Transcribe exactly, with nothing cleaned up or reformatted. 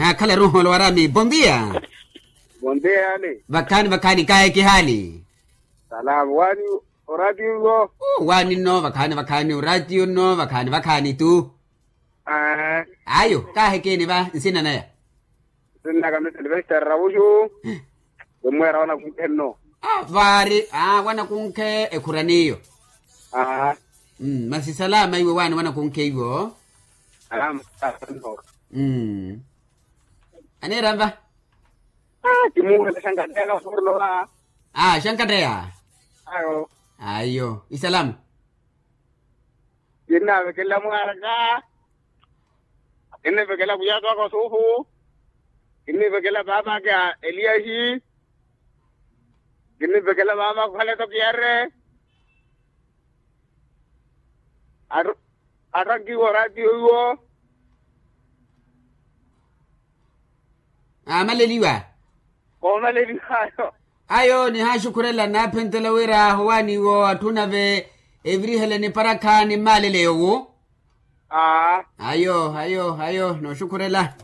Akhala ruholo warami bondia. Bondia yani. Vakhaani vakhaani kaye kihaali. Salama wani. Oratiyo iwo. Wani nno vakhaani vakhaani oratiyo nno vakhaani vakhaani tu. Ayo kaahekeni va nsina naya. Nsina naka misa ni vesta ravuxu. Vemwera wanakunkhe nno. Vaari wanakunkhe ekhuraniyo. Masi salama iwe wani wanakunkhe iwo. Aneera nva. Kimuhela xankateya kaforno va. Xankateya. Ayo. Isalama. Kinnavekela mwaraka. Kinnivekela kuyato aka osuhu. Kinnivekela paapaka eliyahi. Kinnivekela paapaka okhaleto kiyare. Attankiwa oratiyo iwo. Aamaleliwa. Koomaleliwa ayo. Ayo nihaaxukhurela naaphentela wira aho waniwo atthu nave evirihele niparakha nimmaalele yowo. Ayo ayo ayo nooxukhurela.